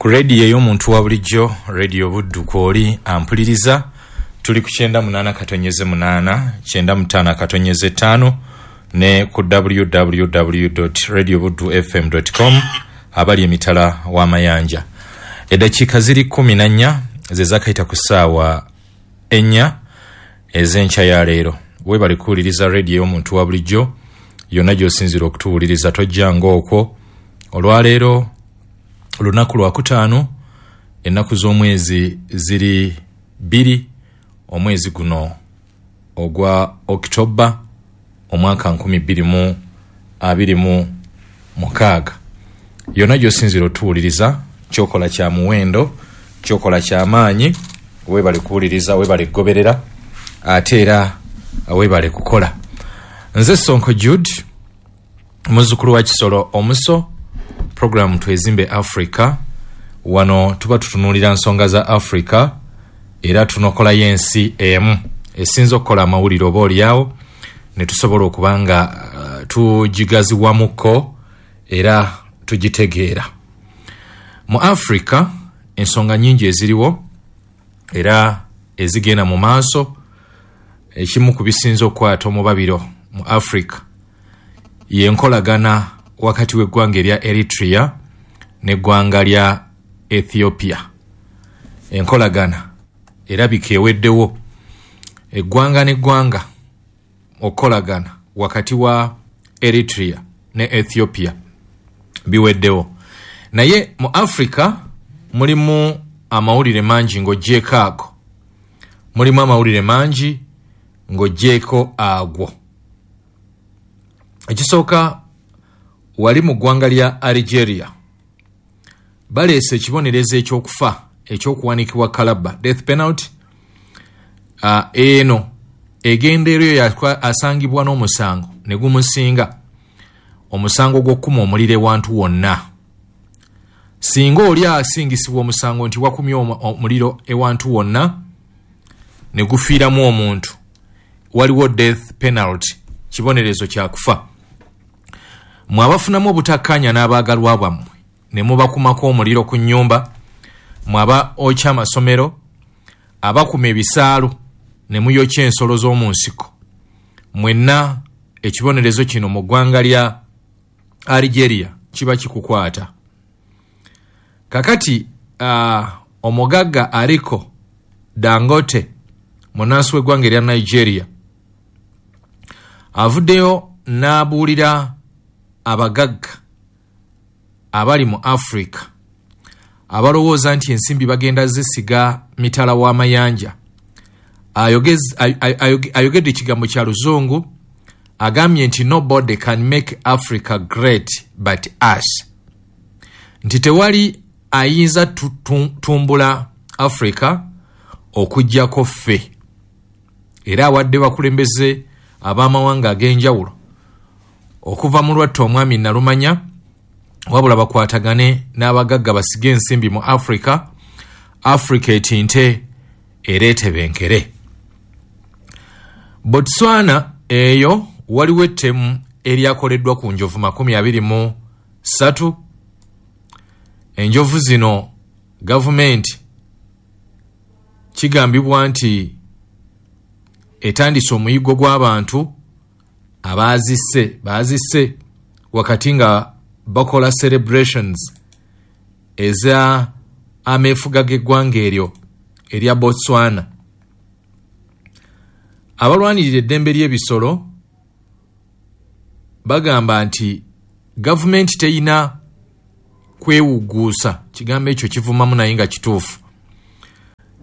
Ku rediyo ey'omuntu wa bulijjo, Rediyo Buddu, kwoli ampuliriza, tuli ku 98.8, 95.5 ne ku www.radiobuddufm.com abali emitala w'amayanja. Eddakiika ziri 14 ze zakayita ku ssaawa 4 ez'enkya ya leero. Weebale kuwuliriza rediyo ey'omuntu wa bulijjo yonna gy'osinziira okutuwuliriza, tojjanga okwo. Olwaleero lunaku lwakutaano, ennaku z'omwezi ziri 2, omwezi guno ogwa Okitoba omwaka 2026. Yonna gy'osinziira otuwuliriza, kyokola kya muwendo, kyokola kya maanyi. Weebale kuwuliriza, weebale kugoberera, ate era weebale kukola. Nze Sonko Jude, muzzukulu wa Kisolo Omuso. Programu Twezimbe Africa. Wano tuba tutunuulira nsonga za Africa era tunokolayo ensi emu esinza okukola amawulire oba oliawo ne tusobola okuba nga tugigaziwamuko era tugitegeera. Mu Africa ensonga nyingi eziriwo era ezigenda mu maaso. Ekimu ku bisinza okukwata omubabiro mu Africa y'enkolagana wakati w'eggwanga erya Eritrea n'eggwanga lya Ethiopia. Enkolagana erabika eweddewo. Eggwanga n'eggwanga okukolagana wakati wa Eritrea ne Ethiopia biweddewo. Naye mu Africa mulimu amawulire mangi ng'oggyeeko ago. Mulimu amawulire mangi ng'oggyeeko agwo. Ekisooka, wali mu ggwanga lya Algeria baleese ekibonerezo ekyokufa ekyokuwanikibwa kalabba, death penalty. Eno egenda eri asangibwa n'omusango ne gumusinga, omusango gw'okukuma omuliro ewantu wonna. Singa oli asingisibwa omusango nti wakumye omuliro ewantu wonna ne gufiiramu omuntu, waliwo death penalty, kibonerezo kya kufa. Mwe abafunamu obutakkaanya n'abaagalwa bwammwe ne mubakumako omuliro ku nnyumba, mwe aba okya amasomero, abakuma ebisaalu ne muyokya ensolo z'omu nsiko, mwenna ekibonerezo kino mu ggwanga lya Algeria kiba kikukwata. Kakati omugagga Aliko Dangote, munnansi w'eggwanga erya Nigeria, avuddeyo n'abuulira abagagga abali mu Africa abalowooza nti ensimbi bagenda zisiga mitala w'amayanja. Ayogedde ekigambo kya Luzungu, agambye nti nobody can make Africa great but us, nti tewali ayinza tumbula Africa okuggyako ffe. Era awadde bakulembeze ab'amawanga ag'enjawulo okuva mu lwattu omwami Nalumanya, wabula bakwatagane n'abagagga basige ensimbi mu Africa, Africa etinte era etebenkere. Botswana eyo waliwo ettemu eryakoleddwa ku njovu 23. Enjovu zino gavumenti kigambibwa nti etandise omuyiggo gw'abantu abaazisse wakati nga bakola celebrations eza ameefuga g'eggwanga eryo erya Botswana. Abalwanirira eddembe ly'ebisolo bagamba nti gavumenti teyina kwewugguusa, kigambo ekyo kivumamu naye nga kituufu.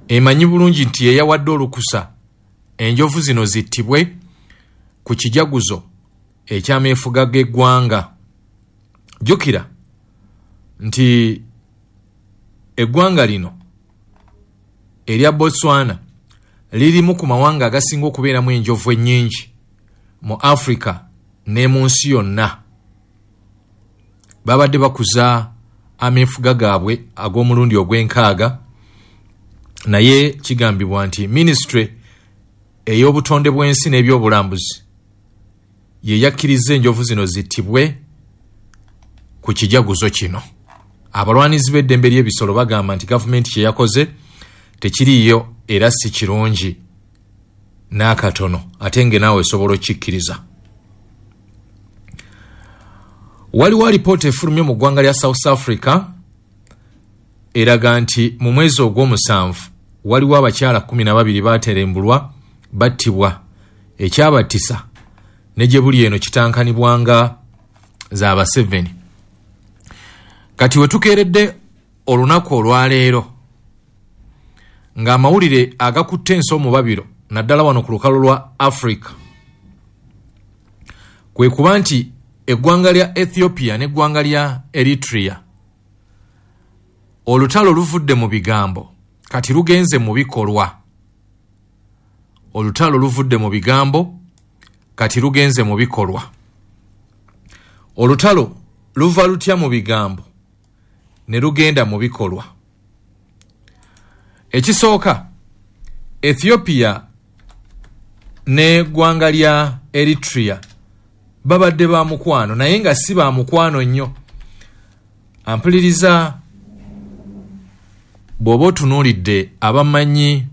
Emanyi bulungi nti yeyawadde olukusa enjovu zino zittibwe ku kijaguzo ekyameefuga g'eggwanga. Jjukira nti eggwanga lino erya Botswana lirimu ku mawanga agasinga okubeeramu enjovu ennyingi mu Africa ne mu nsi yonna. Babadde bakuza ameefuga gaabwe ag'omulundi ogw'enkaaga, naye kigambibwa nti minisitule ey'obutonde bw'ensi n'ebyobulambuzi ye yakkiriza enjovu zino zittibwe ku kijaguzo kino. Abalwanizi b'eddembe ly'ebisolo bagamba nti gavumenti kye yakoze tekiriiyo era si kirungi n'akatono, ate nge naawe esobola okkikkiriza. Waliwo alipoota efulumye mu ggwanga lya South Africa eraga nti mu mwezi ogw'omusanvu waliwo abakyala 12 baterembulwa battibwa, ekyabattisa ne gye buli eno kitankanibwanga za ba7. Kati we tukeeredde olunaku olwaleero ng'amawulire agakutte ensi omubabiro naddala wano ku lukalu lwa Africa kwe kuba nti eggwanga lya Ethiopia n'eggwanga lya Eritrea olutalo luvudde mu bigambo kati lugenze mu bikolwa. Olutalo luvudde mu bigambo kati lugenze mu bikolwa. Olutalo luva lutya mu bigambo ne lugenda mu bikolwa? Ekisooka, Ethiopia n'eggwanga lya Eritrea babadde ba mukwano, naye nga si ba mukwano nnyo. Ampuliriza, bw'oba otunuulidde abamanyi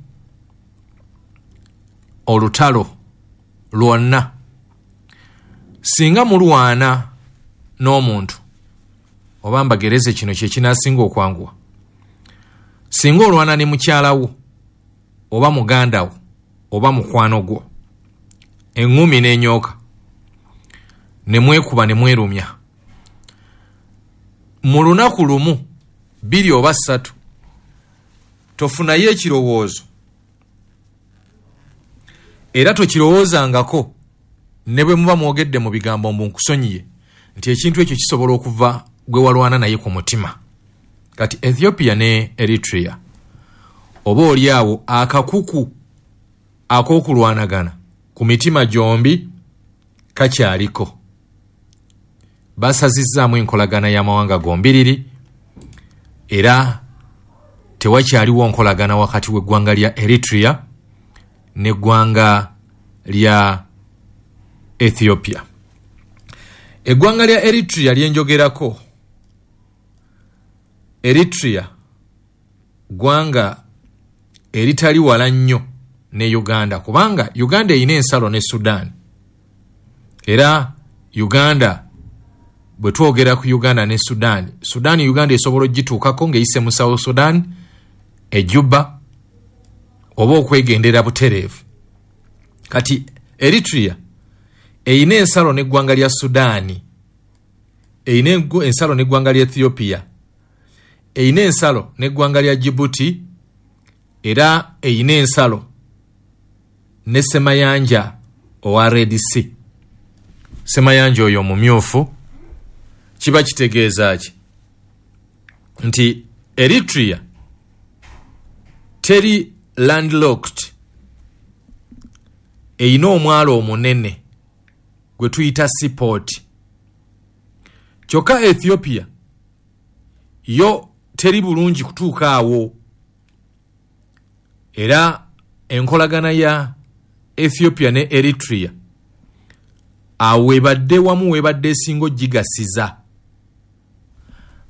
olutalo lwonna, singa mulwana n'omuntu, oba mbagereze kino kye kinaasinga okwanguwa, singa olwana ne mukyala wo oba muganda wo oba mukwano gwo, eŋŋumi n'enyooka ne mwekuba ne mwerumya, mu lunaku lumu 2 oba 3 tofunayo ekirowoozo era tokirowoozangako ne bwe muba mwogedde mu bigambo mbu nkusonyiye, nti ekintu ekyo kisobola okuva gwe walwana naye ku mutima. Kati Ethiopia ne Eritrea oba oli awo akakuku ak'okulwanagana ku mitima gyombi kakyaliko. Basazizzaamu enkolagana y'amawanga gombiriri era tewakyaliwo nkolagana wakati w'eggwanga lya Eritrea n'eggwanga lya Ethiopia. Eggwanga lya Eritrea lyenjogerako, Eritrea ggwanga eritali wala nnyo ne Uganda, kubanga Uganda erina ensalo ne Sudan. Era Uganda bwe twogera ku Uganda ne Sudan, Sudan Uganda esobola ogituukako ng'eyise mu South Sudan, e Juba, oba okwegendera butereevu. Kati Eritrea erina ensalo n'eggwanga lya Sudan, erina ensalo n'eggwanga lya Ethiopia, erina ensalo n'eggwanga lya Djibouti, era erina ensalo ne Ssemayanja owa Red Sea. Ssemayanja oyo omumyufu. Kiba kitegeeza ki? Nti Eritrea teri landlocked, erina omwalo omunene gwe tuyita seaport. Kyokka Ethiopia yo teri bulungi kutuuka awo, era enkolagana ya Ethiopia ne Eritrea awo webadde wamu webadde esinga ogigasiza,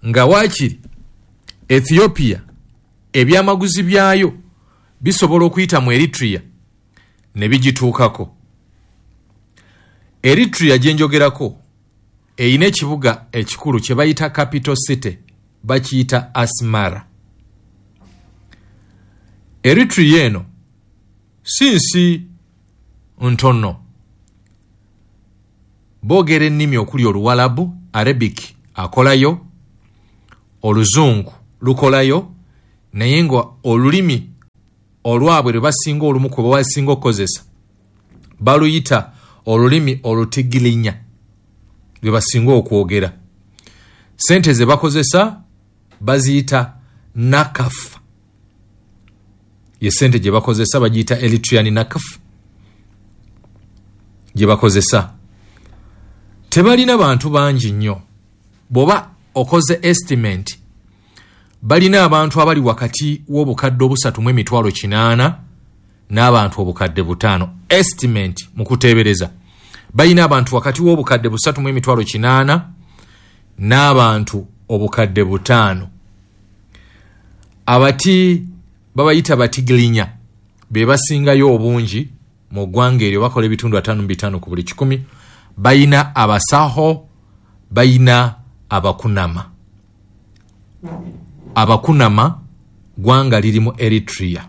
nga waakiri Ethiopia ebyamaguzi byayo bisobola okuyita mu Eritrea ne bigituukako. Eritrea gye njogerako erina ekibuga ekikulu kye bayita capital city, bakiyita Asmara. Eritrea eno si nsi ntono, boogera ennimi okuli Oluwalabu, Arabic akolayo, Oluzungu lukolayo, naye nga olulimi olwabwe lwe basinga olumu kwe basinga okukozesa baluyita olulimi Olutigirinya lwe basinga okwogera. Sente ze bakozesa baziyita nakaf, ye sente gye bakozesa bagiyita Eritrean nakaf gye bakozesa. Tebalina bantu bangi nnyo, bw'oba okoze estimate balina abantu abali wakati w'obukadde 3,800 n'abantu 5,000. Estimate mu kuteebereza balina abantu wakati w'obukadde 3,800 n'abantu 5,000. Abati babayita Batigrinya be basingayo obungi mu ggwanga eryo, bakola ebitundu 55 ku buli 100. Bayina Abasaho, bayina Abakunama. Abakunama ggwanga liri mu Eritrea.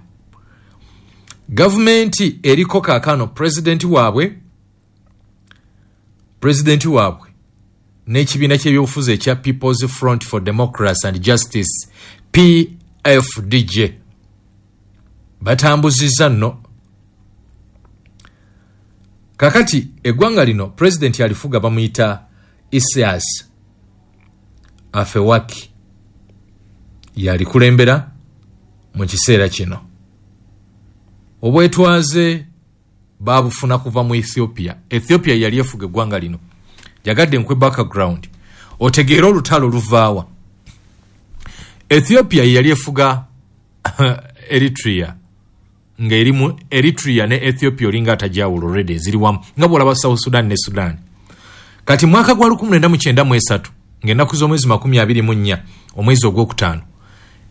Gavumenti eriko kaakano pulezidenti waabwe n'ekibiina ky'ebyobufuzi ekya People's Front for Democracy and Justice PFDJ batambuzizza nno. Kakati eggwanga lino pulezidenti alifuga bamuyita Isaias Afwerki, yalikulembera mu kiseera kino. Obwetwaze babufuna kuva mu Ethiopia. Ethiopia yali efuga eggwanga lino. Jagadde nkwe background otegeera olutalo luvaawa. Ethiopia yali efuga Eritrea, nga erimu Eritrea ne Ethiopia olinga atajawulo already ziri wamu, nga bw'olaba South Sudan ne Sudan. Kati mwaka gwa 1993 ng'ennaku z'omwezi 24 omwezi ogwokutaano,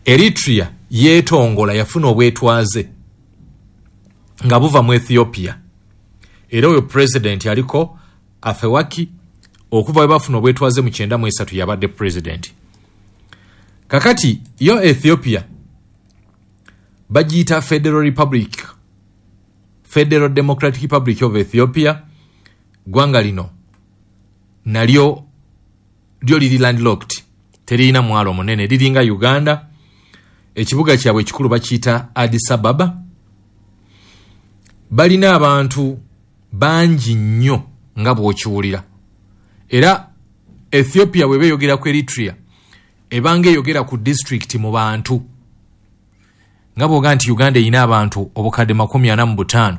Eritrea yeetongola, yafuna obwetwaze nga buva mu Ethiopia. Era oyo pulezidenti aliko Afwerki okuva we bafuna obwetwaze mu 93 yabadde pulezidenti. Kakati yo Ethiopia bagiyita Federal Republic, Federal Democratic Republic of Ethiopia. Ggwanga lino nalyo lyo liri landlocked, teririna mwalo munene, liringa Uganda. Ekibuga kyabwe ekikulu bakiyita Addis Ababa. Balina abantu bangi nnyo nga bw'okiwulira. Era Ethiopia bw'eba eyogera ku Eritrea ebanga eyogera ku disitulikiti mu bantu, nga bw'oga nti Uganda erina abantu 45,000,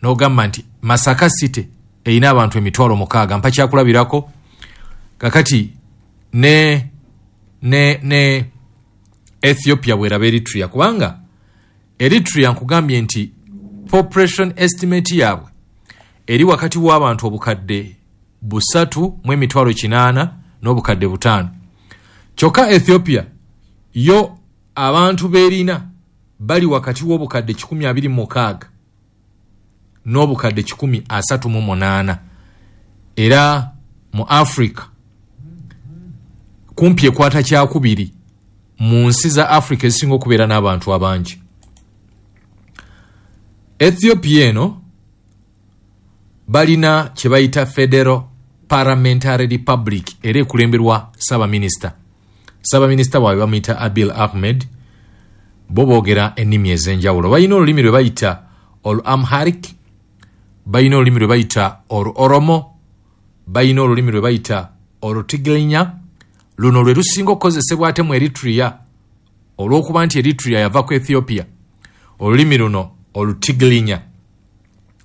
n'ogamba nti Masaka City erina abantu 6,000. Mpa kyakulabirako. Kakati ne Ethiopia bw'eraba Eritrea, kubanga Eritrea nkugambye nti population estimate yaabwe eri wakati w'abantu 3,800,000 n'obukadde 5. Kyokka Ethiopia yo abantu b'erina bali wakati w'obukadde 126 n'obukadde 138. Era mu Africa kumpi ekwata kyakubiri mu nsi za Africa ezisinga okubeera n'abantu abangi. Ethiopia eno balina kye bayita Federal Parliamentary Republic, era ekulemberwa ssaabaminisita. Ssaabaminisita waabwe bamuyita Abiy Ahmed. Bo boogera ennimi ez'enjawulo. Balina olulimi lwe bayita Olu Amharic, balina olulimi lwe bayita Olu Oromo, balina olulimi lwe bayita Olu Tigrinya. Luno lwe lusinga okukozesebwa ate mu Eritrea, olw'okuba nti Eritrea yava ku Ethiopia. Olulimi luno Olutigrinya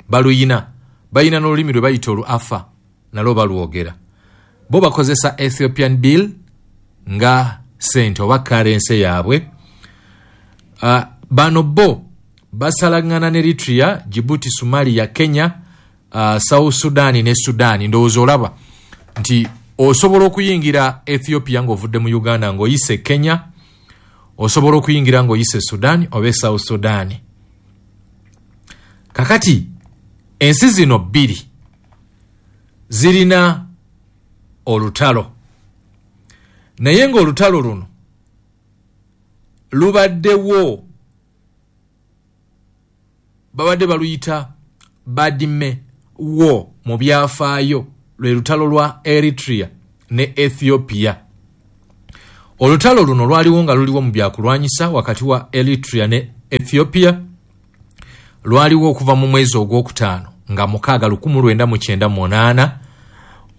baluyina. Balina n'olulimi lwe bayita Olu Afa, nalwo balwogera. Bo bakozesa Ethiopian bill nga sente oba currency yaabwe. Bano bo basalagana ne Eritrea, Djibouti, Somalia, Kenya, South Sudan ne Sudan. Ndowooza olaba nti osobola okuyingira Ethiopia ng'ovudde mu Uganda ng'oyise Kenya, osobola okuyingira ng'oyise Sudan oba South Sudan. Kakati ensi zino bbiri zirina olutalo, naye ng'olutalo luno lubaddewo, babadde baluyita Badme War mu byafaayo, lwe lutalo lwa Eritrea ne Ethiopia. Olutalo luno lwaliwo nga luliwo mu byakulwanyisa wakati wa Eritrea ne Ethiopia. Lwaliwo okuva mu mwezi ogwokutaano nga 6 1998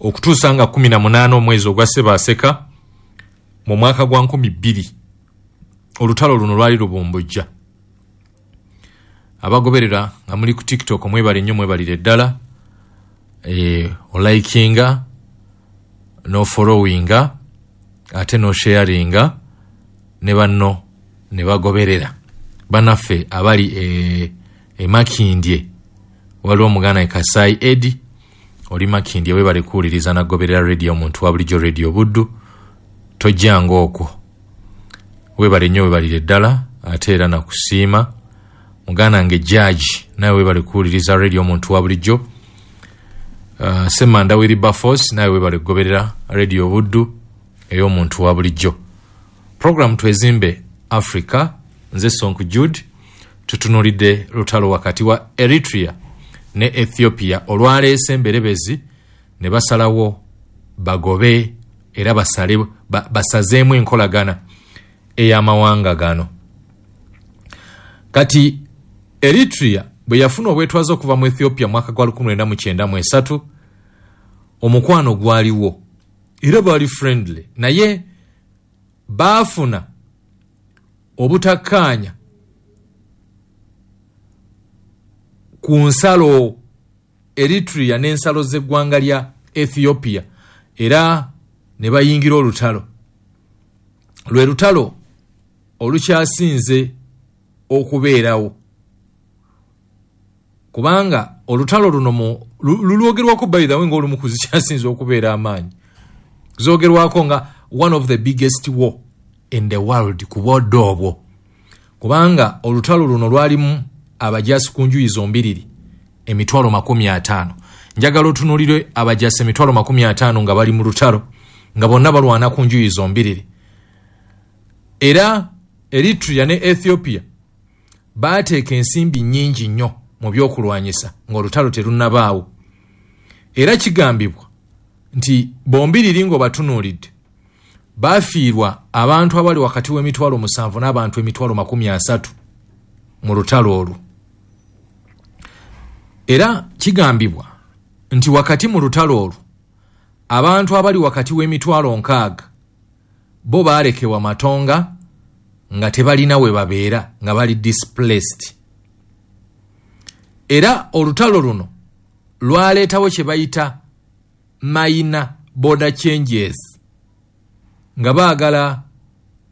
okutuusa nga 18 omwezi ogwa Ssebaaseka mu mwaka gwa 2000. Olutalo luno lwali lubumbujja. Abagoberera nga muli ku TikTok mwebale nnyo, mwebalire ddala. Olikinga, no followinga, ate no sharinga ne banno ne bagoberera. Bannaffe abali e Makindye, waliwo omuganda e Kasai Edi oli Makindye, webale kuwuliriza nagoberera radio omuntu wa bulijjo, Radio Buddu. Tojjanga okwo. Weebale nnyo, weebalire ddala, ate era nakusiima. Muganda nge Jaji, nawe weebale kuwuliriza radio Omuntu wa Bulijjo. Ssemanda Wilberforce, nawe weebale kugoberera radio Buddu ey'Omuntu wa Bulijjo. Program Twezimbe Africa, nze Sonku Jude. Tutunuulidde lutalo wakati wa Eritrea ne Ethiopia olwaleese emberebezi ne basalawo bagobe era basazeemu enkolagana ey'amawanga gano. Kati Eritrea bwe yafuna obwetwaze okuva mu Ethiopia mwaka gwa 1993, omukwano gwaliwo era baali friendly, naye baafuna obutakkaanya ku nsalo Eritrea n'ensalo z'eggwanga lya Ethiopia, era ne bayingira olutalo. Lwe lutalo olukyasinze okubeerawo, kubanga olutalo luno lulwogerwako by the way ng'olumu ku zikyasinze okubeera amaanyi, zoogerwako nga one of the biggest war in the world ku bwodde obwo, kubanga olutalo luno lwalimu abajasi ku njuyi zombiriri 50,000. Njagala otunuulire abajasi 50,000 nga bali mu lutalo, nga bonna balwana ku njuyi zombiriri. Era Eritrea ne Ethiopia baateeka ensimbi nnyingi nnyo mu by'okulwanyisa ng'olutalo terunnabaawo. Era kigambibwa nti bombiriri ng'obatunuulidde baafiirwa abantu abali wakati w'emitwalo 7 n'abantu 30,000 mu lutalo olwo. Era kigambibwa nti wakati mu lutalo olwo abantu abali wakati w'emitwalo 60 bo baalekebwa matonga nga tebalina we babeera, nga bali displaced. Era olutalo luno lwaleetawo kye bayita minor border changes, nga baagala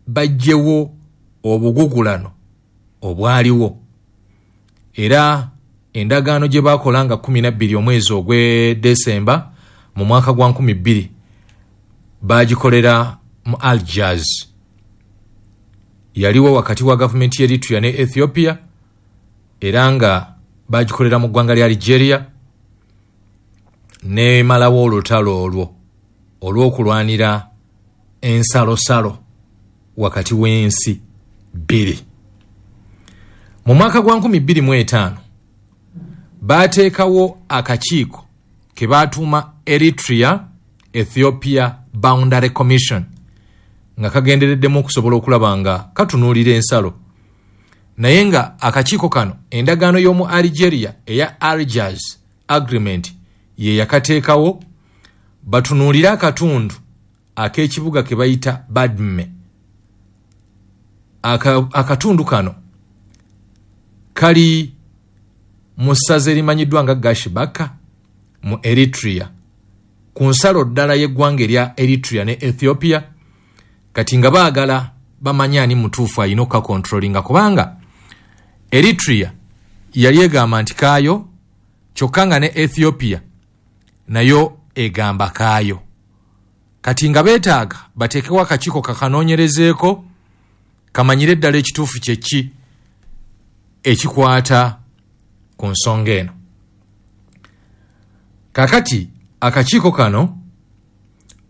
baggyewo obugugulano obwaliwo. Era endagaano gye baakola nga 12 omwezi ogw'e Desemba mu mwaka gwa 2000 baagikolera mu Algiers. Yaliwo wakati wa gavumenti y'Eritrea ne Ethiopia, era nga baagikolera mu ggwanga lya Algeria, nemalawo olutalo olwo olw'okulwanira ensalosalo wakati w'ensi bbiri. Mu mwaka gwa 2005 baateekawo akakiiko ke baatuuma Eritrea Ethiopia Boundary Commission, nga kagendereddemu okusobola okulaba nga katunuulira ensalo. Naye nga akakiiko kano endagaano y'omu Algeria eya Algiers Agreement ye yakateekawo, batunuulire akatundu ak'ekibuga ke bayita Badme. Akatundu kano kali mu ssaza erimanyiddwa nga Gashbaka mu Eritrea, ku nsalo ddala y'eggwanga erya Eritrea ne Ethiopia. Kati nga baagala bamanye ani mutuufu alina okukakontrolinga, kubanga Eritrea yali egamba nti kaayo, kyokka nga ne Ethiopia nayo egamba kaayo. Kati nga beetaaga bateekewo akakiiko kakanoonyerezeeko kamanyire ddala ekituufu kye ki ekikwata ku nsonga eno. Kakati akakiiko kano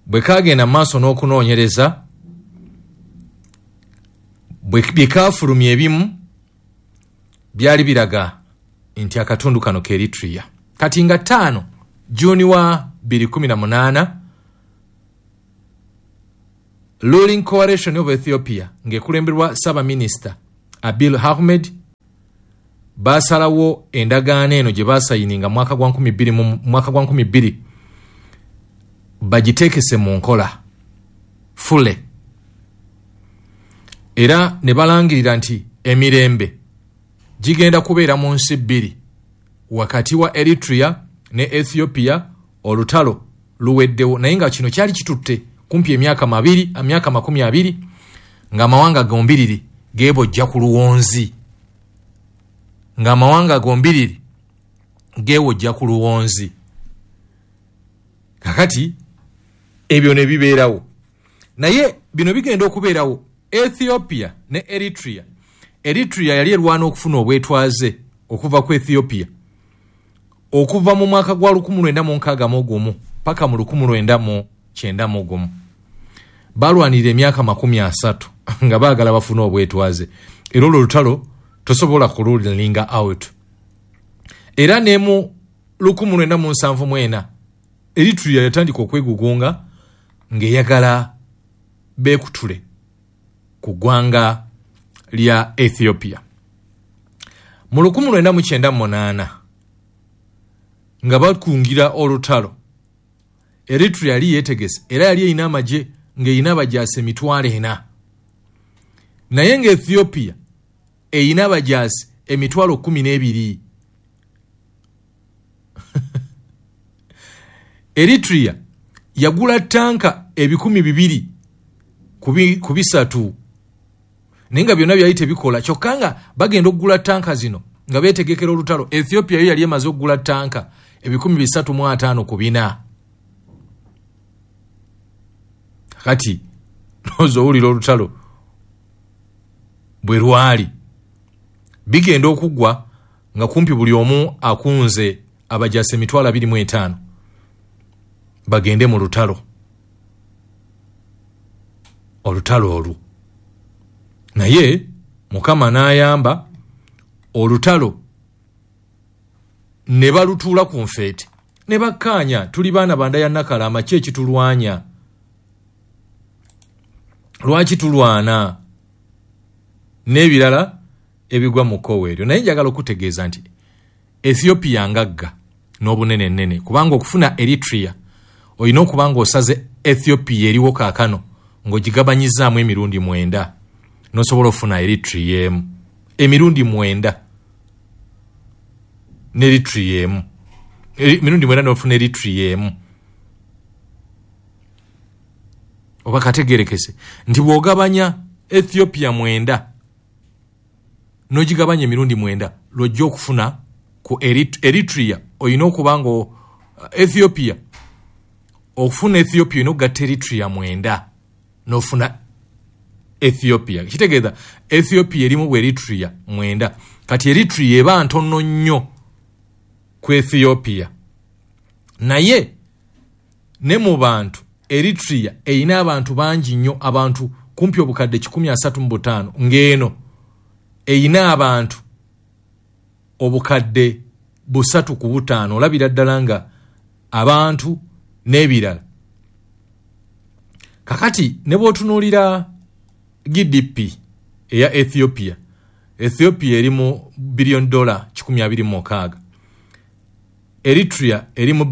bwe kagenda mu maaso n'okunoonyereza, bye kaafulumya ebimu byali biraga nti akatundu kano ke Eritrea. Kati nga 5 Juni wa 2018, Ruling Coalition of Ethiopia ng'ekulemberwa Ssaabaminisita Abiy Ahmed baasalawo endagaano eno gye baasayininga mwaka gwa 2000 bagiteekese mu nkola fule, era ne balangirira nti emirembe gigenda kubeera mu nsi bbiri wakati wa Eritrea ne Ethiopia, olutalo luweddewo. Naye nga kino kyali kitutte kumpi emyaka 20 ng'amawanga gombiriri geebojja ku luwonzi, ng'amawanga gombiriri geewojja ku luwonzi. Kakati ebyo ne bibeerawo. Naye Bino bigenda okubeerawo Ethiopia ne Eritrea. Eritrea yali erwana okufuna obwetwaze okuva ku Ethiopia okuva mu mwaka gwa 1961 paka mu 1991. Balwanirira emyaka 30 nga baagala bafune obwetwaze, era olwo olutalo tosobola kululinga out. Era ne mu 1974 Eritrea yatandika okwegugunga ng'eyagala beekutule ku ggwanga lya Ethiopia. Mu 1998 nga bakungira olutalo, Eritrea yali yeetegese era yali erina amagye ng'erina abajaasi 4,000, naye nga Ethiopia erina abajaasi 12,000. Eritrea yagula tanka 2,200 ku 300, naye nga byonna byali tebikola. Kyokka nga bagenda okugula tanka zino nga beetegekera olutalo. Ethiopia yo yali emaze okugula tanka 354 ku 4. Kati noza owulira olutalo bwe lwali bigenda okuggwa nga kumpi buli omu akunze abajaasi 25,000 bagende mu lutalo. Olutalo olwo naye Mukama n'ayamba olutalo ne balutuula ku nfeete ne bakkaanya, tuli baana banda ya Nakalama, ki ekitulwanya? Lwaki tulwana? N'ebirala ebigwa mu kkowe eryo. Naye njagala okutegeeza nti Ethiopia ngagga n'obunene nnene, kubanga okufuna Eritrea olina okuba ng'osaze Ethiopia eriwo kaakano ng'ogigabanyizaamu emirundi 9 n'osobola okufuna Eritrea emu. Emirundi 9 ne Eritrea emu, emirundi 9 n'ofuna Eritrea emu. Oba kategerekese nti bw'ogabanya Ethiopia 9 n'ogigabanya emirundi 9 lw'ojja okufuna ku Eritrea. Olina okuba nga Ethiopia, okufuna Ethiopia olina okugatta Eritrea 9 n'ofuna Ethiopia. Kitegeeza Ethiopia erimu bwe Eritrea 9. Kati Eritrea eba ntono nnyo ku Ethiopia, naye ne mu bantu Eritrea erina abantu bangi nnyo, abantu kumpi obukadde 135, ng'eno erina abantu obukadde 305. Olabira ddala nga abantu n'ebirala. Kakati ne bw'otunuulira GDP eya Ethiopia, Ethiopia eri mu $126 billion, Eritrea eri mu $2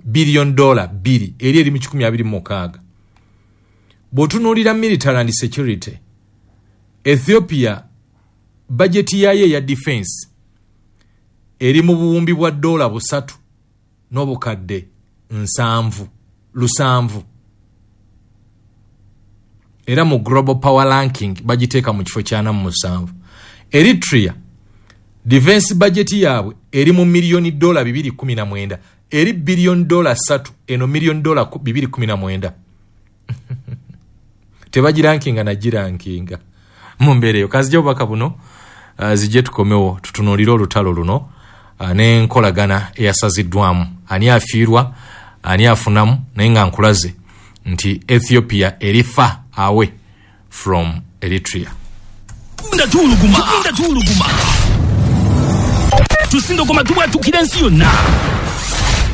billion, $2 eri eri mu 126. Bw'otunuulira military and security, Ethiopia bajeti yaayo eya defense eri mu buwumbi bwa $3 n'obukadde 77. Era mu global power ranking bagiteeka mu kifo kya 47. Eritrea defense budget yaabwe eri mu $2.19 million, eri $3 billion, eno $2.19 million. Tebagirankinga nagirankinga mu mbeera eyo. Kanzija obubaka buno zijje tukomewo tutunuulire olutalo luno n'enkolagana eyasaziddwamu, ani afiirwa ani afunamu, naye nga nkulaze nti Ethiopia eri far away from Eritrea. Tuwuluguma tusindogoma tubwatukira ensi yonna.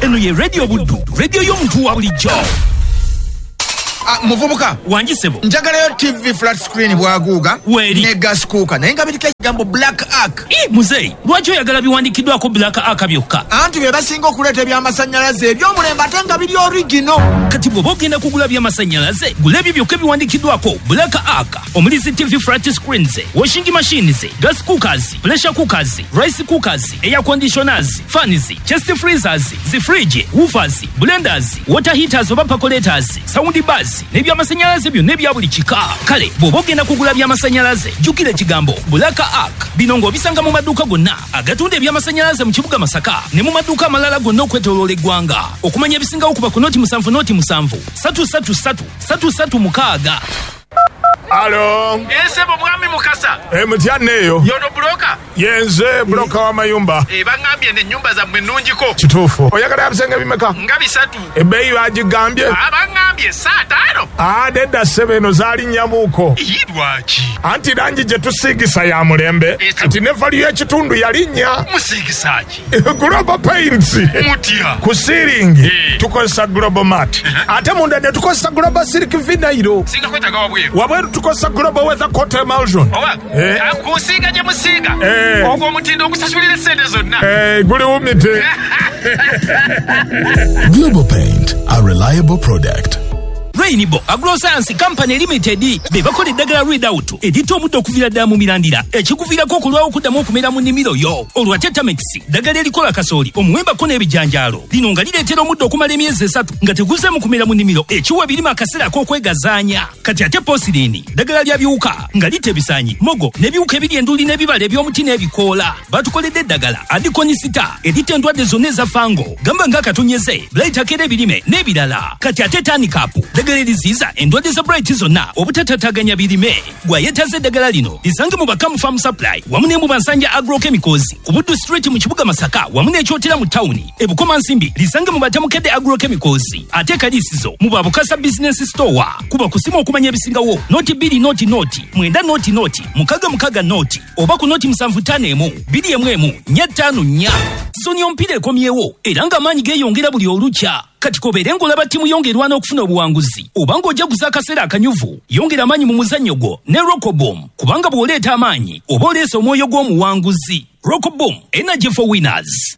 Eno ye Radio Buddu, radio y'omuntu wa bulijjo. Muvubuka wangisebo, njagalayo TV flat screen bwaguuga ne gas cooker, naye nga biriko ekigambo Black Ark. Muzeeyi, lwaki oyagala biwandiikiddwako Black Ark byokka? Anti bye basinga okuleeta ebyamasannyalaze eby'omulembe ate nga biri original. Kati bw'oba ogenda kugula byamasannyalaze, gula ebyo byokka ebiwandiikiddwako Black Ark, omuli zi TV flat screens, washing machines, gas cookers, pressure cookers, rice cookers, air conditioners, fans, chest freezers, zi fridge, woofers, blenders, water heaters oba percolators, sound bars n'ebyamasannyalaze byonna ebya buli kika. Kale bw'oba ogenda kugula byamasannyalaze, jjukira ekigambo Black Arc. Bino ng'obisanga mu maduuka gonna agatunda ebyamasannyalaze mu kibuga Masaka ne mu maduuka amalala gonna okwetooloola eggwanga. Okumanya ebisingawo kuba ku 07 07 333 336. Alo. Esebo mwami Mukasa. Mutya neyo. Yono broker. Yenze broker wa mayumba. Bangambye ne nyumba za mwe nnungiko. Kituufu. Oyagala ebisenge bimeka? Nga bisatu. Ebbeeyi bagigambye? Abangambye 5. Nedda ssebo, eno zaali nnyamuuko. Lwaki? Anti langi gye tusiigisa ya mulembe. Kati ne value y'ekitundu yalinnya. Musiigisa ki? Global Paints. Mutya. Ku siiringi tukozesa Global Mat. Ate munda ne tukozesa Global Silk Vinyl. Singa kwetaaga wabweru. Wabweru tukozesa Global Weather Coat Emulsion. Kusiiga gye musiiga. Ogwo omutindo ogusasulira essente zonna. Guli wumite. Global Paint, a reliable product. Rainbow Agroscience Company Limited be bakola eddagala Readout eritta omuddo okuviira ddala mu mirandira ekikuviirako okulwawo okuddamu okumera mu nnimiro yo. Olwa Tetamex ddagala erikola kasooli, omuwembako n'ebijanjaalo. Lino nga lireetera omuddo okumala emyezi 3 nga teguzeemu kumera mu nnimiro, ekiwa ebirime akaseera ak'okwegazaanya. Kati ate Posirini ddagala lya biwuka nga litta ebisaanyi, mogo n'ebiwuka ebiri enduli n'ebibala eby'omuti n'ebikoola. Batukoledde eddagala Adikonisita eritta endwadde zonna eza fango, gamba ng'akatonyeze, blight akera ebirime n'ebirala. Kati ate Tanikapu ddagala eriziyiza endwadde za blight zonna obutatataganya birime. Gwayetaze eddagala lino lisange mu Bakamu Farm Supply wamu ne mu Bansanja Agrochemicals ku Buddu Street mu kibuga Masaka wamu n'Ekyotera mu tawuni. E Bukomansimbi lisange mu Batamukedde Agrochemicals, ate Kalisizo mu Babukasa Business Store. Kuba kusimu okumanya ebisingawo 0 2 0 0 9 0 0 6 6 0 oba ku 0 7 5 1 2 1 4 5 4. Sizoni y'omupiira ekomyewo era ng'amaanyi geeyongera buli olukya. Kati kobeere ng'olaba ttiimu yongerwa n'okufuna obuwanguzi oba ng'ojaguza akaseera akanyuvu, yongera amaanyi mu muzannyo gwo ne Rockboom, kubanga bw'oleeta amaanyi oba oleese omwoyo gw'omuwanguzi. Rockboom, energy for winners.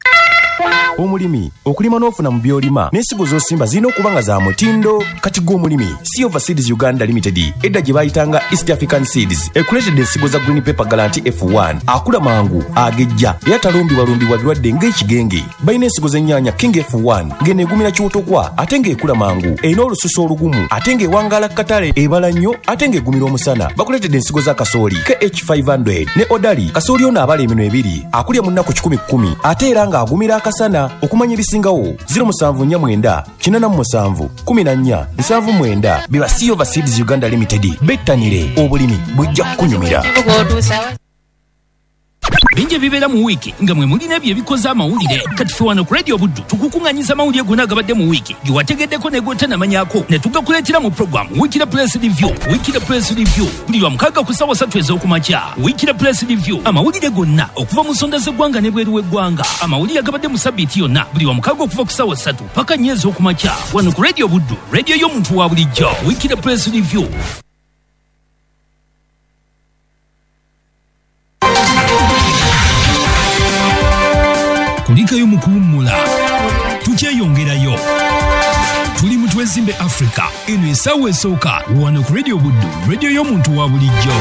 Omulimi okulima n'ofuna mu by'olima n'ensigo z'osimba zirina okuba nga za mutindo. Kati gwe omulimi, Silver Seeds Uganda Limited edda gye bayitanga East African Seeds ekuleetedde ensigo za Green Pepper Galanti F1, akula mangu, agejja era talumbibwalumbibwa birwadde ng'ekigenge. Balina ensigo z'ennyaanya King F1 ng'eno egumira kiwotokwa ate ng'ekula mangu, erina olususu olugumu ate ng'ewangaala ku katale, ebala nnyo ate ng'egumira omusana. Bakuleetedde ensigo za kasooli KH500 ne Odali. Kasooli ono abala eminwe ebiri, akulya mu nnaku 110 ate era ng'agumira akasana. Okumanya ebisingawo 0749 87 14 79. Biba Silver Seeds Uganda Limited. Bettanire obulimi bujja kukunyumira. Bingi ebibeera mu wiiki nga mwe mulina ebyo ebikoze amawulire. Kati ffe wano ku Radio Buddu tukukuŋŋanyiza amawulire gonna agabadde mu wiiki ge wategeddeko ne g'otanamanyako ne tugakuleetera mu programu Weekly Press Review. Weekly Press Review buli lwa mukaaga ku ssaawa 3 ez'okumakya. Weekly Press Review, amawulire gonna okuva mu nsonda z'eggwanga n'ebweru w'eggwanga. Amawulire agabadde mu sabbiiti yonna buli lwa mukaaga okuva ku ssaawa 3 paka 4 ez'okumakya wano ku Radio Buddu, radio y'omuntu wa bulijjo. Weekly Press Review. Kulikayo mu kuwummula, tukyeyongerayo. Tuli mu Twezimbe Africa. Eno essaawa esooka wano ku Radio Buddu, radio y'omuntu wa bulijjo.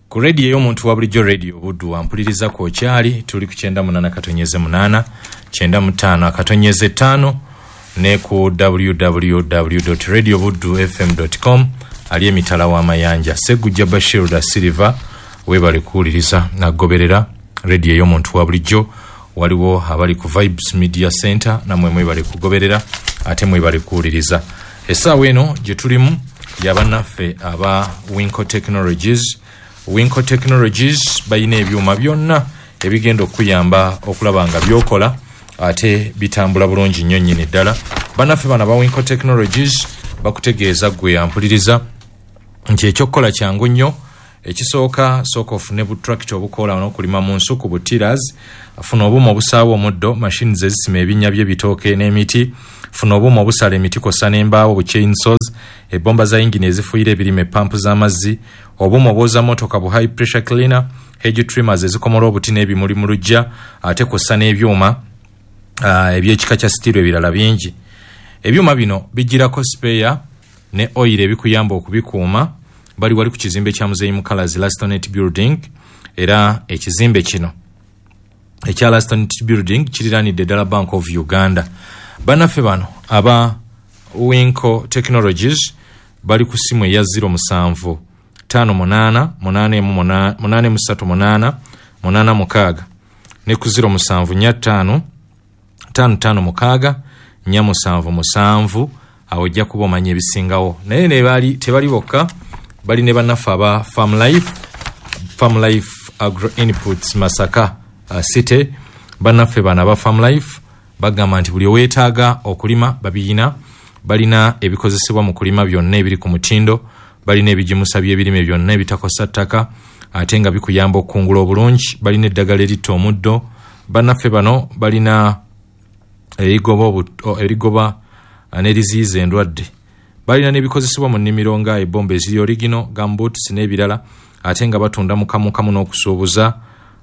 Ku radio y'omuntu wa bulijjo, Radio Buddu, wampuliriza ku okyali, tuli ku 98.8, 95.5 ne ku www.radiobuddufm.com. Ali emitala w'amayanja Segujja Bashir da Silva, webale kuwuliriza nagoberera radio y'omuntu wa bulijjo. Waliwo abali ku Vibes Media Center, namwe mwebale kugoberera ate mwebale kuwuliriza. Essaawa eno gye tulimu yabannaffe aba Winco Technologies. Winco Technologies balina ebyuma byonna ebigenda okuyamba okulaba nga byokola ate bitambula bulungi nnyo nnyini ddala. Bannaffe bano aba Winco Technologies bakutegeeza gwe ampuliriza nti ekyokukola kyangu nnyo. Ekisooka, sooka ofune butractor obukola n'okulima mu nsuku, butiras, funa obuuma obusaawa omuddo, machines ezisima ebinnya by'ebitooke n'emiti, funa obuuma obusala emiti kw'ossa n'embaawo, bu chainsaws, ebbomba za yingini ezifuuyira ebirime, pampu z'amazzi, obuuma obwoza mmotoka bu high pressure cleaner, hedge trimmers ezikomola obuti n'ebimuli mu luggya, ate kw'ossa n'ebyuma eby'ekika kya steel ebirala bingi. Ebyuma bino bijjirako spare ne oil ebikuyamba okubikuuma. Bali wali ku kizimbe kya Muzeeyi Mukalazi Lastonet Building, era ekizimbe kino ekya Lastonet Building kiriraanidde ddala Bank of Uganda. Bannaffe bano aba Winco Technologies bali ku simu eya 07 58 8 8 86 ne ku 07 5 5 5 6 4 7 awo ojja kuba omanya ebisingawo. Naye ne bali tebali bokka, bali ne bannaffe aba Farm Life Agro Inputs Masaka City. Bannaffe bano aba Farm Life bagamba nti buli oweetaaga okulima babiyina, balina ebikozesebwa mu kulima byonna ebiri ku mutindo, balina ebigimusa by'ebirime byonna ebitakosa ttaka ate nga bikuyamba okukungula obulungi, balina eddagala eritta omuddo. Bannaffe bano balina erigoba n'eriziyiza endwadde, balina n'ebikozesebwa mu nnimiro nga ebomba eziri origino, gumboots n'ebirala, ate nga batunda mukamukamu n'okusuubuza.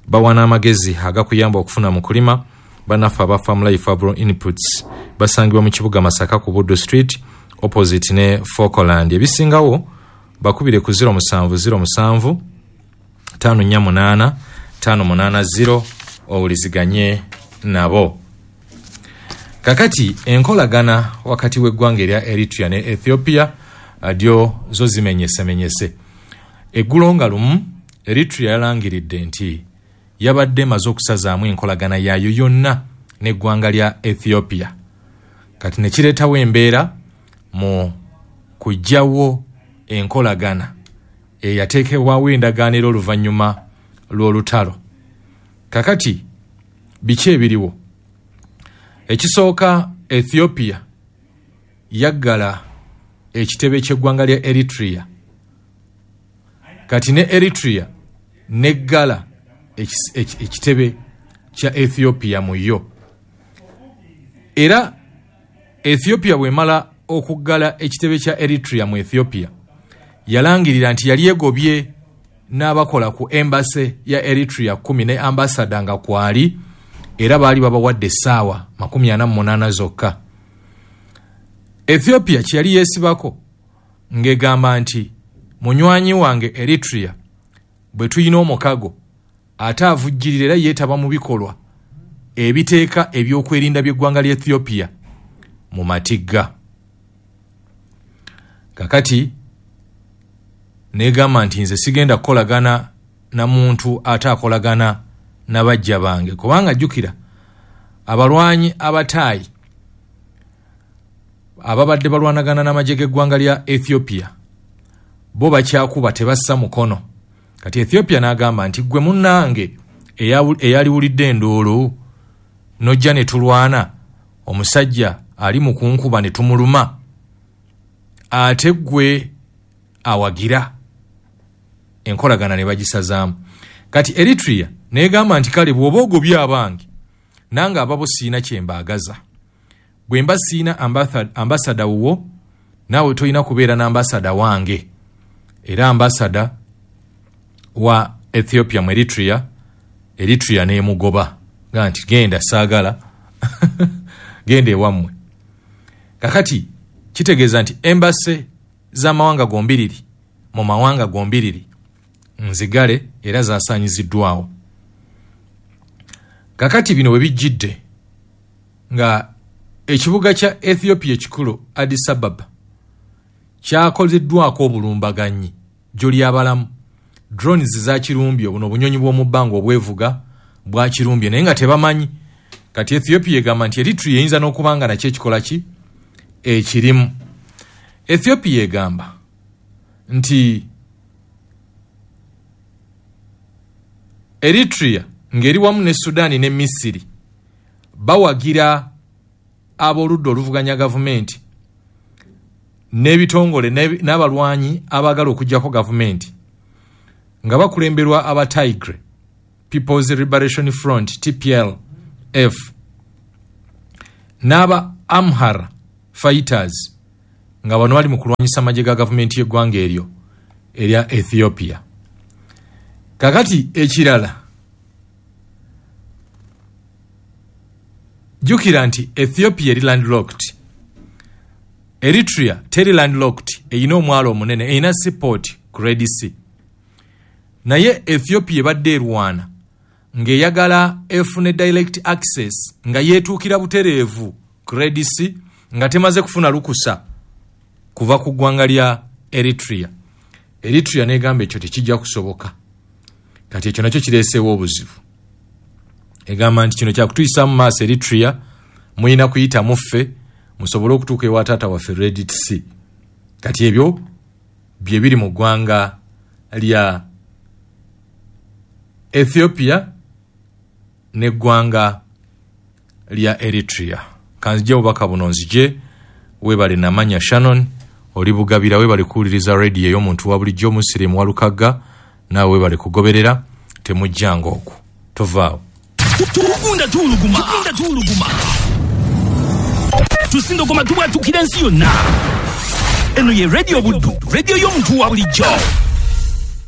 Bawa n'amagezi agakuyamba okufuna mu kulima. Bannaffe aba Farm Life Agro Inputs basangibwa mu kibuga Masaka ku Buddo Street opposite ne Falkland. Ebisingawo bakubire ku 0707 548 580 owuliziganye nabo. Kakati enkolagana wakati w'eggwanga erya Eritrea ne Ethiopia dyo zo zimenyesemenyese. Eggulo nga lumu Eritrea yalangiridde nti yabadde emaze okusazaamu enkolagana yaayo yonna n'eggwanga lya Ethiopia. Kati ne kireetawo embeera mu kuggyawo enkolagana eyateekebwawo endagaano era oluvannyuma lw'olutalo. Kakati biki ebiriwo? Ekisooka, Ethiopia yaggala ekitebe ky'eggwanga lya Eritrea. Kati ne Eritrea neggala ekitebe kya Ethiopia mu yo. Era Ethiopia bw'emala okuggala ekitebe kya Eritrea mu Ethiopia, yalangirira nti yali egobye n'abakola ku embassy ya Eritrea 10 ne ambassador nga kwali, era baali babawadde essaawa 48 zokka. Ethiopia kye yali yeesibako ng'egamba nti munywanyi wange Eritrea bwe tulina omukago ate avujjirira era yeetaba mu bikolwa ebiteeka ebyokwerinda by'eggwanga lya Ethiopia mu matigga. Kakati negamba nti nze sigenda kukolagana na muntu ate akolagana n'abajja bange, kubanga jjukira abalwanyi abataayi ababadde balwanagana n'amagye g'eggwanga lya Ethiopia bo bakyakuba tebassa mukono. Kati Ethiopia n'agamba nti ggwe munnange eyaliwulidde enduulu n'ojja ne tulwana, omusajja ali mu kunkuba ne tumuluma, ate ggwe awagira enkolagana ne bagisazaamu. Kati Eritrea n'egamba nti kale bw'oba ogobye abange nange ababo siina kye mbaagaza, bwe mba siina ambasada wuwo naawe tolina kubeera n'ambasada wange. Era ambasada wa Ethiopia mu Eritrea, Eritrea n'emugoba nga nti genda saagala genda ewammwe. Kakati kitegeeza nti embassy z'amawanga gombiriri mu mawanga gombiriri nzigale era zasaanyiziddwawo. Kakati bino we bijjidde nga ekibuga kya Ethiopia ekikulu Addis Ababa kyakoleddwako obulumbaganyi gy'oli abalamu. Drones zakirumbye, buno obunyonyi bw'omu bbanga obwevuga bwakirumbye naye nga tebamanyi. Kati Ethiopia egamba nti Eritrea eyinza n'okuba nga nakyo ekikola ki ekirimu. Ethiopia egamba nti Eritrea ng'eri wamu ne Sudan ne Misiri bawagira ab'oludda oluvuganya gavumenti n'ebitongole n'abalwanyi abaagala okuggyako gavumenti nga bakulemberwa aba Tigray People's Liberation Front TPLF n'aba Amhara Fighters nga bano bali mu kulwanyisa amagye ga gavumenti y'eggwanga eryo erya Ethiopia. Kakati ekirala, jjukira nti Ethiopia eri landlocked, Eritrea teri landlocked, eyina omwalo omunene, eyina seaport ku Red Sea. Naye Ethiopia ebadde erwana ng'eyagala efune direct access nga yeetuukira butereevu ku Red Sea nga temaze kufuna lukusa kuva ku ggwanga lya Eritrea. Eritrea negamba ekyo tekijja kusoboka. Kati ekyo nakyo kireeseewo obuzibu. Egamba nti kino kyakutuyisa mu maaso, Eritrea muyina kuyita muffe musobole okutuuka ewa taata waffe Red Sea. Kati ebyo bye biri mu ggwanga lya Ethiopia n'eggwanga lya Eritrea. Kanzije obubaka buno nzije. Webale Namanya Shannon, oli Bugabira, webale kuwuliriza radio ey'omuntu wa bulijjo Musirimu Walukagga, naawe webale kugoberera, temujjanga okwo, tovaawo. Tugunda tuwuluguma, tugunda tuwuluguma, tusindogoma tubwatukira ensi yonna. Eno ye Radio Buddu, radio y'omuntu wa bulijjo.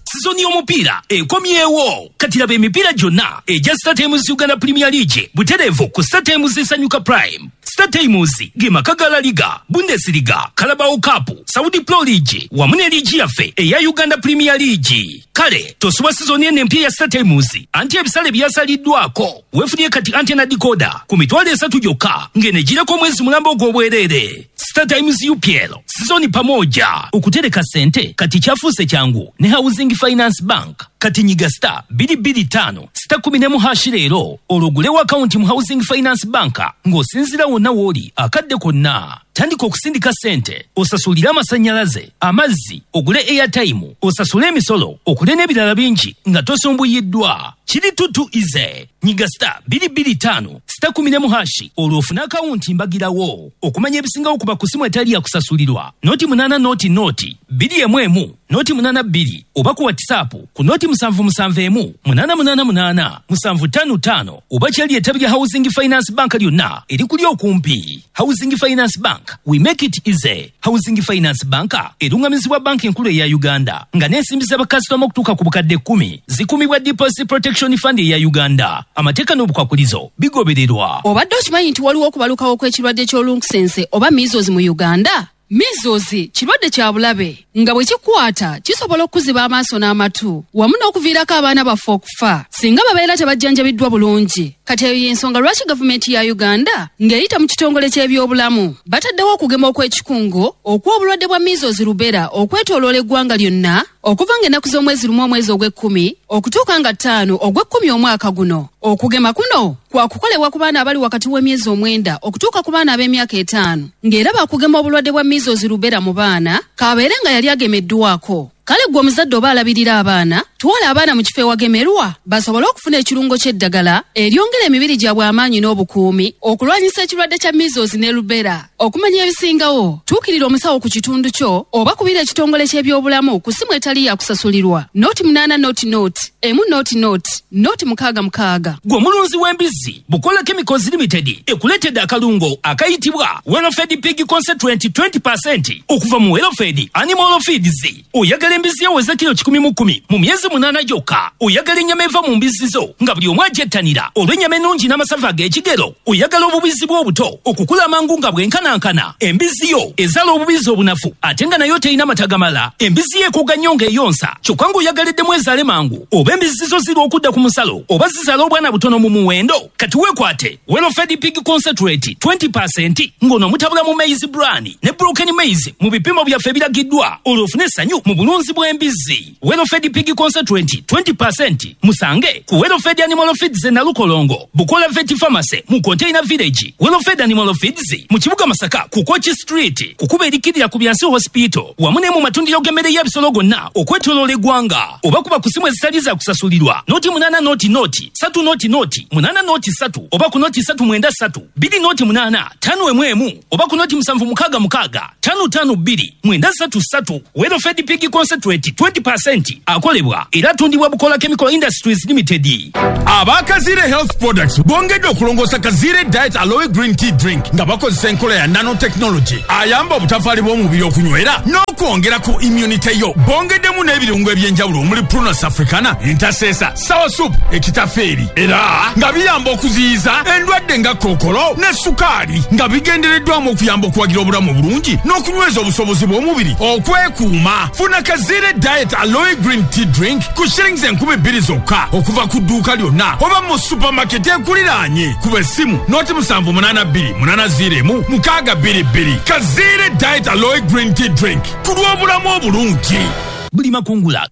Sizoni y'omupiira ekomyewo. Kati laba emipiira gyonna egya StarTimes Uganda Premier League butereevu ku StarTimes Sanyuka Prime. StarTimes ge maka ga La Liga, Bundesliga, Carabao Cup, Saudi Pro League wamu ne liigi yaffe eya Uganda Premier League. Kale tosubwa sizoni eno empya ya StarTimes, anti ebisale byasaliddwako. Weefunye kati antenna decoder ku 30,000 gyokka ng'eno egireko omwezi mulamba ogw'obwereere. StarTimes UPL sizoni pamoja. Okutereka ssente kati kyafuuse kyangu ne Housing Finance Bank. Kati nyiga star 225 star 11 hashi leero olwo ogulewo akawunti mu Housing Finance Bank ng'osinziira wonna w'oli akadde konna. Tandika okusindika ssente, osasulire amasannyalaze, amazzi, ogule airtime, osasule emisolo, okule n'ebirala bingi nga tosumbuyiddwa. Kiri tutu ize. Nyiga star 225 star 11 hashi olwo ofune akawunti mbagirawo. Okumanya ebisingawo kuba ku simu etali ya kusasulirwa noti 8 noti noti 2 emu noti 8 2 oba ku WhatsApp ku noti 771 888 755 oba kyali ettabi lya Housing Finance Bank lyonna erikuli okumpi. Housing Finance Bank, we make it easy. Housing Finance Bank erungamizibwa banki enkulu eya Uganda nga n'ensimbi z'abakasitoma okutuuka ku bukadde 10 zikumibwa Deposit Protection Fund eya Uganda. Amateeka n'obukwakulizo bigobererwa. Obadde okimanyi nti waliwo okubalukawo kw'ekirwadde ky'olunkusense oba measles mu Uganda? Measles kirwadde kya bulabe nga bwe kikwata kisobola okuziba amaaso n'amatu wamu n'okuviirako abaana baffe okufa singa babeera tebajjanjabiddwa bulungi. Kati eyo y'ensonga lwaki gavumenti ya Uganda ng'eyita mu kitongole ky'ebyobulamu bataddewo okugema okw'ekikungo okw'obulwadde bwa measles rubella okwetooloola eggwanga lyonna okuva ng'ennaku z'omwezi 1 omwezi ogw'ekkumi okutuuka nga 5 ogw'ekkumi omwaka guno. Okugema kuno kwakukolebwa ku baana abali wakati w'emyezi 9 okutuuka ku baana ab'emyaka 5 ng'era bakugema obulwadde bwa measles rubella mu baana kabeere nga yali agemeddwako. Kale gwe omuzadde oba alabirira abaana, twala abaana mu kifo ewagemerwa basobole okufuna ekirungo ky'eddagala eryongera emibiri gyabwe amaanyi n'obukuumi okulwanyisa ekirwadde kya measles ne rubella. Okumanya ebisingawo, tuukirira omusawo ku kitundu kyo oba kubira ekitongole ky'ebyobulamu ku ssimu etali ya kusasulirwa noti 8 noti noti 1 noti noti noti 6 6. Gwe omulunzi w'embizzi, Bukola Chemicals Limited ekuleetedde akalungo akayitibwa Welfed Pig Concentrate 20% okuva mu Welfed Animal Feeds. Oyagala embizzi eweza kilo 110 mu myezi 8 gyokka. Oyagala ennyama eva mu mbizzi zo nga buli omu agyettanira olw'ennyama ennungi n'amasavu ag'ekigero. Oyagala obubizzi bw'obuto okukula amangu nga bwenkanankana. Embizzi yo ezaala obubizzi obunafu ate nga nayo terina mata gamala. Embizzi yo ekoga nnyo ng'eyonsa kyokka ng'oyagaliddemu ezaale mangu. Oba embizzi zo zirwa okudda ku musalo oba zizaala obwana butono mu muwendo. Kati weekwate Welfed Pig Concentrate 20% ng'ono mutabula mu maize bran ne broken maize mu bipimo byaffe ebiragiddwa olwo ofune essanyu mu bulunzi bw'embizzi. Welfed Pig Concentrate 20% musange ku Welfed Animal Feeds e Nalukolongo, Bukola Vet Pharmacy mu Container Village, Welfed Animal Feeds mu kibuga Masaka ku Kochi Street, kukuba erikirira ku Byansi Hospital wamu ne mu matundiro g'emmere y'ebisolo gonna okwetooloola eggwanga. Oba kuba ku simu ezitali za kusasulirwa noti 8 noti noti 3 noti noti 8 noti 3 oba ku noti 3 9 3 2 noti 8 5 1 oba ku noti 7 6 6 5 5 2 9 3 3. Welfed Pig Concentrate 20% akolebwa era atundibwa Bukola Chemical Industries Limited. Aba Kazire Health Products bongedde okulongoosa Kazire Diet Aloe Green Tea Drink nga bakozesa enkola ya nanotechnology ayamba obutafaali bw'omubiri okunywera n'okwongera ku immunity yo. Bongeddemu n'ebirungo eby'enjawulo omuli Prunus africana, entasesa, sour soup, ekitafeeri era nga biyamba okuziyiza endwadde nga kookolo ne sukaali nga bigendereddwamu okuyamba okuwagira obulamu obulungi n'okunyweza obusobozi bw'omubiri okwekuuma. Funa Kazire Diet Aloe Green Tea Drink. drink ku shillings 2000 zokka okuva ku dduuka lyonna oba mu supermarket ekuliraanye. Kuba essimu 0782 801 622. Kaziire Diet Aloe Green Tea Drink ku lw'obulamu obulungi. Buli makungula.